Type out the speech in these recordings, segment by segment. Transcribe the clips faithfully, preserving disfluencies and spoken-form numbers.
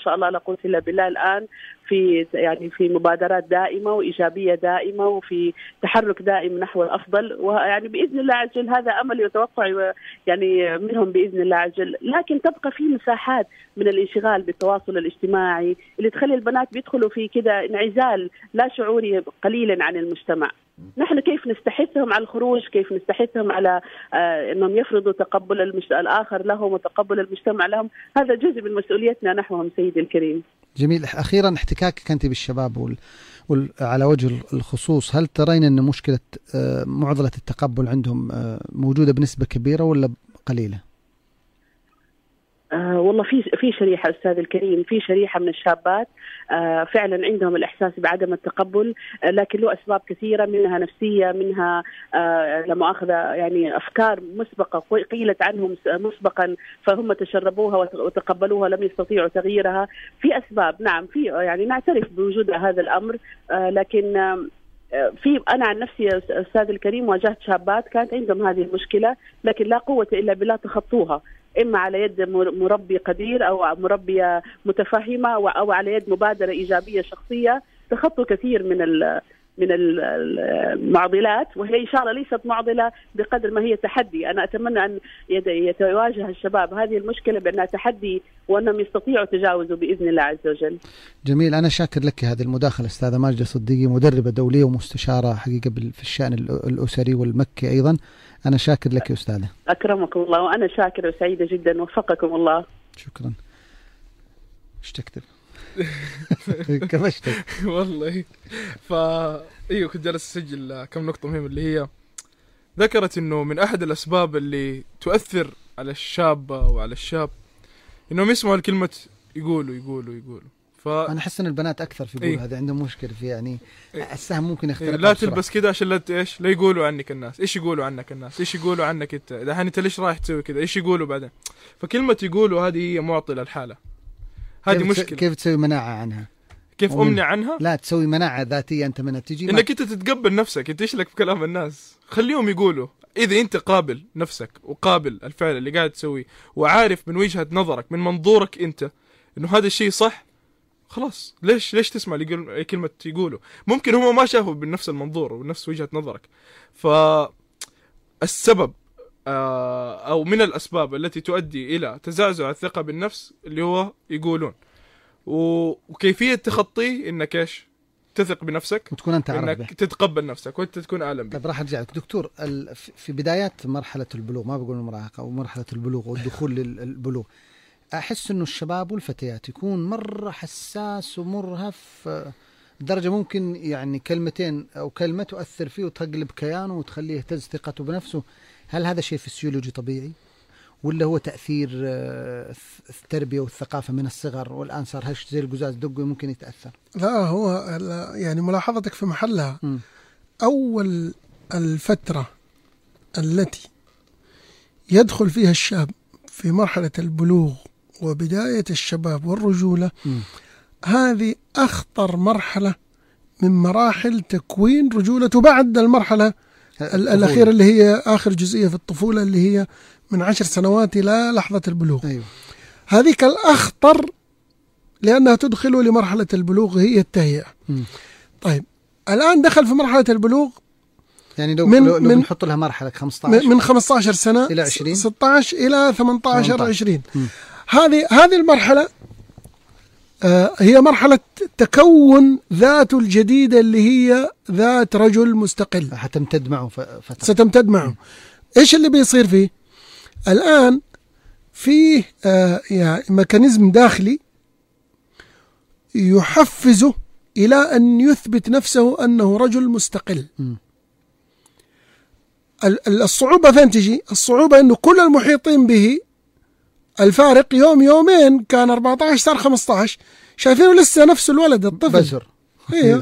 شاء الله لا قوة إلا بالله الآن في يعني في مبادرات دائمة وإيجابية دائمة وفي تحرك دائم نحو الأفضل، ويعني بإذن الله عز وجل هذا أمل يتوقع يعني منهم بإذن الله عز وجل. لكن تبقى في مساحات من الانشغال بالتواصل الاجتماعي اللي تخلي البنات بيدخلوا في كده انعزال لا شعوري قليلا عن المجتمع. نحن كيف نستحثهم على الخروج، كيف نستحثهم على آه أنهم يفرضوا تقبل المجت... الآخر لهم وتقبل المجتمع لهم، هذا جزء من مسؤوليتنا نحوهم سيدي الكريم. جميل. أخيرا احتكاكك أنت بالشباب وال... وال... على وجه الخصوص، هل ترين أن مشكلة آه معضلة التقبل عندهم آه موجودة بنسبة كبيرة ولا قليلة؟ آه والله في في شريحة أستاذ الكريم، في شريحة من الشابات آه فعلا عندهم الإحساس بعدم التقبل، آه لكن له أسباب كثيرة، منها نفسية، منها آه لمؤاخذة يعني أفكار مسبقة قيلت عنهم مسبقا فهم تشربوها وتقبلوها لم يستطيعوا تغييرها. في أسباب نعم، في يعني نعترف بوجود هذا الأمر، آه لكن آه في أنا عن نفسي أستاذ الكريم واجهت شابات كانت عندهم هذه المشكلة، لكن لا قوة إلا بالله تخطوها، إما على يد مربي قدير أو مربية متفهمة أو على يد مبادرة إيجابية شخصية تخطوا كثير من من المعضلات، وهي إن شاء الله ليست معضلة بقدر ما هي تحدي. أنا أتمنى أن يتواجه الشباب هذه المشكلة بأنها تحدي وأنهم يستطيعوا تجاوزه بإذن الله عز وجل. جميل. أنا شاكر لك هذه المداخلة أستاذة ماجدة صديقي، مدربة دولية ومستشارة حقيقة في الشأن الأسري والمكي أيضا. أنا شاكر لك يا أستاذة. أكرمكم الله، وأنا شاكر وسعيدة جدا، وفقكم الله. شكرا. ايش تكتب؟ كمشتك والله. فا ايوه كنت جالس اسجل كم نقطة مهمة، اللي هي ذكرت انه من احد الاسباب اللي تؤثر على الشابة وعلى الشاب انهم يسمعوا الكلمة يقولوا يقولوا يقولوا. ف انا احس ان البنات اكثر في يقول هذا عندهم مشكلة في يعني إيه؟ السهم ممكن يختلف. إيه؟ لا تلبس كذا عشان لا ايش لا يقولوا عنك الناس، ايش يقولوا عنك الناس، ايش يقولوا عنك انت، اذا انت ليش رايح تسوي كذا، ايش يقولوا بعدين. فكلمة يقولوا هذه هي معطلة الحالة، هذه مشكلة. كيف تسوي مناعة عنها؟ كيف أمنع عنها؟ لا تسوي مناعة ذاتية أنت منها تجي إنك أنت تتقبل نفسك، أنت إيش لك في كلام الناس، خليهم يقولوا. إذا أنت قابل نفسك وقابل الفعل اللي قاعد تسويه وعارف من وجهة نظرك من منظورك أنت إنه هذا الشيء صح، خلاص ليش ليش تسمع لي كلمة يقولوا؟ ممكن هم ما شافوا بنفس المنظور وبنفس وجهة نظرك. فالسبب أو من الأسباب التي تؤدي إلى تزعزع الثقة بالنفس اللي هو يقولون، وكيفية تخطيه إنك إيش تثق بنفسك وتكون أنت عارف إنك به. تتقبل نفسك وأنت تكون أعلم به. طيب راح أرجع لك دكتور، في بدايات مرحلة البلوغ، ما بقول المراهقة أو مرحلة البلوغ والدخول للبلوغ، أحس إنه الشباب والفتيات يكون مرة حساس ومرهف درجة ممكن يعني كلمتين أو كلمة تؤثر فيه وتقلب كيانه وتخليه يهتز ثقته بنفسه. هل هذا شيء فسيولوجي طبيعي ولا هو تأثير التربية والثقافة من الصغر والآن صار هش زي القزاز دقه ممكن يتأثر؟ لا، هو يعني ملاحظتك في محلها. م. أول الفترة التي يدخل فيها الشاب في مرحلة البلوغ وبداية الشباب والرجولة، م. هذه أخطر مرحلة من مراحل تكوين رجولته بعد المرحلة الأخيرة اللي هي آخر جزئية في الطفولة اللي هي من عشر سنوات إلى لحظة البلوغ. أيوة. هذه الأخطر لأنها تدخله لمرحلة البلوغ هي التهيئة. م. طيب الآن دخل في مرحلة البلوغ، يعني لو, من لو, لو بنحط لها مرحلة خمسة عشر من خمسة عشر سنة إلى عشرين ستة عشر إلى ثمانية عشر عشرين. هذه هذه المرحلة آه هي مرحلة تكون ذاته الجديدة اللي هي ذات رجل مستقل هتمتد معه فترة. ستمتد معه. م. إيش اللي بيصير فيه الآن؟ فيه آه يعني ميكانيزم داخلي يحفزه إلى أن يثبت نفسه أنه رجل مستقل. م. الصعوبة فين تجي؟ الصعوبة أنه كل المحيطين به الفارق يوم يومين كان أربعة عشر صار خمسة عشر، شايفينه لسه نفس الولد الطفل بزر. إيه.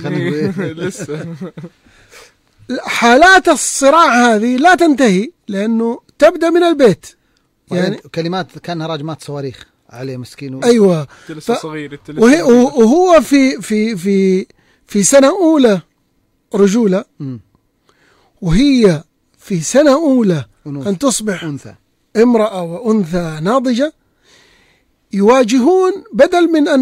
لسه حالات الصراع هذه لا تنتهي لأنه تبدأ من البيت، يعني كلمات كانها راجمات صواريخ عليه مسكين. أيوة. ف... صغير وهي... وهو في في في في سنة أولى رجولة، م. وهي في سنة أولى أنوث. أن تصبح أنثى. امرأة وأنثى ناضجة، يواجهون بدل من أن